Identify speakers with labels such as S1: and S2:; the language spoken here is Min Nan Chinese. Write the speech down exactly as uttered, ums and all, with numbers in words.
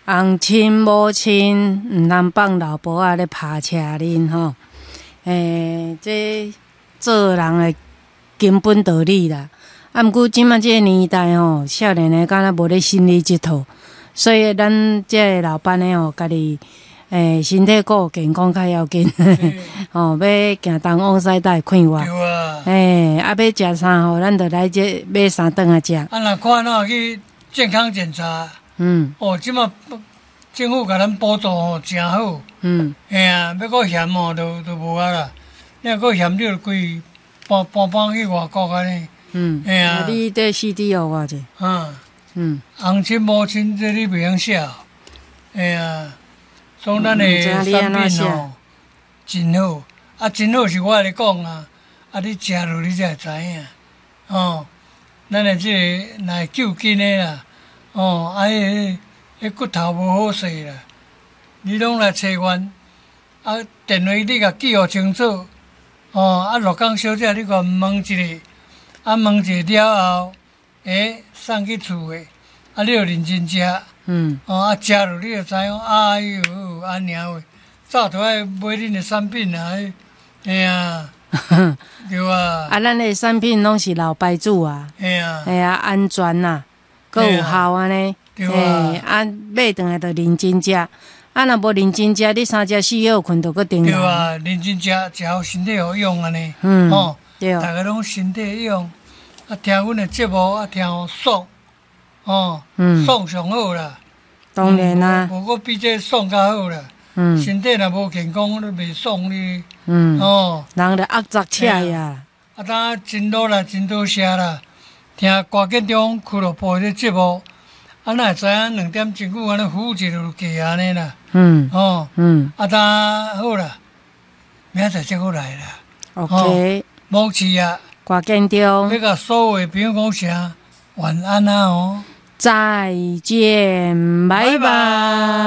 S1: 翁親某親毋通放老婆仔咧拍車恁吼。欸，這做人的根本道理啦。啊，毋過這馬這個年代吼，少年的敢若無咧信你這套，所以咱這个老班的吼，家己欸身體顧健康較要緊，吼，欲行東往西才會快活。
S2: 對啊。
S1: 欸，啊，欲食啥吼，咱就來這買三頓來食。
S2: 啊，若看哪去健康檢查？
S1: 嗯。
S2: 哦，這馬政府共咱補助吼，誠好。
S1: 嗯。
S2: 嘿啊，欲閣嫌吼，就就無啊啦。你若閣嫌，你就規搬搬搬去外國按呢。
S1: 嗯。
S2: 嘿啊。
S1: 你這 C D 予我者。
S2: 嗯。
S1: 嗯。
S2: 翁親某親，這你袂曉寫。嘿啊，所以咱的產品吼，真好。啊，真好是我來講啊，啊，你食落你才會知影。哦，咱的這个若會救緊的啦，哦，啊，彼彼骨頭無好勢啦，你攏來揣阮，啊，電話你共記予清楚，哦，啊，鹿港小姐你共問一下，啊，問一下了後，欸，送去厝的，啊，你著認真食，
S1: 嗯，
S2: 哦，啊，食落你就知影，哎喲，按呢話，早就愛買恁的產品啊，嘿啊，對啊。
S1: 啊，咱的產品攏是老牌子啊，
S2: 嘿啊，
S1: 嘿啊，安全啊，閣有效按呢，
S2: 對啊，
S1: 啊，買轉來就認真食，啊，若無認真食，你三食四歇睏就閣重
S2: 對啊，認真食，食予身體好用按呢，
S1: 嗯，
S2: 吼，
S1: 對，
S2: 逐家攏身體用，啊，聽阮的節目啊，聽予爽，哦，爽上好啦。
S1: 當然啦，
S2: 無閣比這爽較好啦。
S1: 嗯，
S2: 身體若無健康，你袂爽你。
S1: 嗯，
S2: 哦，
S1: 人就壓雜車呀。
S2: 啊，當真努力，真多謝啦。聽歌建中俱樂部的節目，啊，哪會知影兩點真久按呢呼一就過按呢啦。
S1: 嗯。
S2: 哦。
S1: 嗯。
S2: 啊，當好啦，明仔載再閣來啦。
S1: OK。
S2: 無去啊。
S1: 歌建中。
S2: 欲共所有的朋友講聲晚安啊哦。
S1: 再見，拜拜。